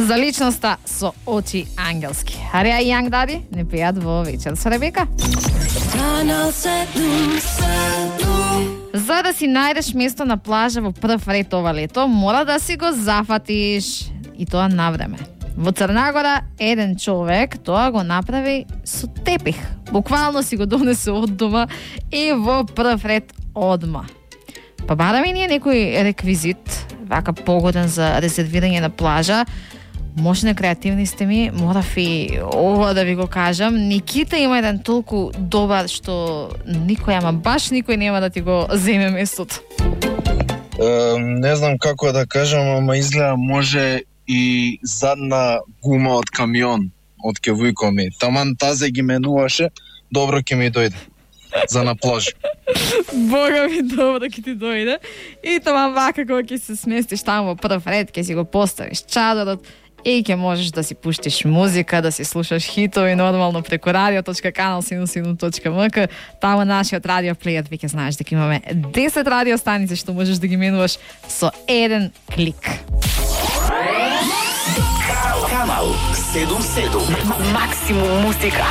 За личноста со очи ангелски. Арија и Јанг Дади не пеат во вечер со Ребека. За да си најдеш место на плажа во прв ред ова лето, мора да си го зафатиш. И тоа навреме. Во Црнагора еден човек тоа го направи со тепих. Буквално си го донесе од дома и во прв ред одма. Па бараме ние некој реквизит, вака погоден за резервирање на плажа. Можне креативни сте ми, морав и ова да ви го кажам. Никита има еден толку добар што никој, ама баш никој нема да ти го земе местото. Не знам како да кажам, ама изгледа може и задна гума од камион, од кевујко ми. Таман тазе ги менуваше, добро ќе ми дојде за на плаж. Бога ми, добро ќе ти дојде. И таман вака кога ќе се сместиш таму во прв ред, ќе си го поставиш чадорот и ќе можеш да си пуштиш музика, да си слушаш хитови нормално преку radio.kanal77.mk. Таму нашиот радио плејер веќе знаеш дека имаме 10 радио станици што можеш да ги менуваш со еден клик. Канал 77. Максимум музика.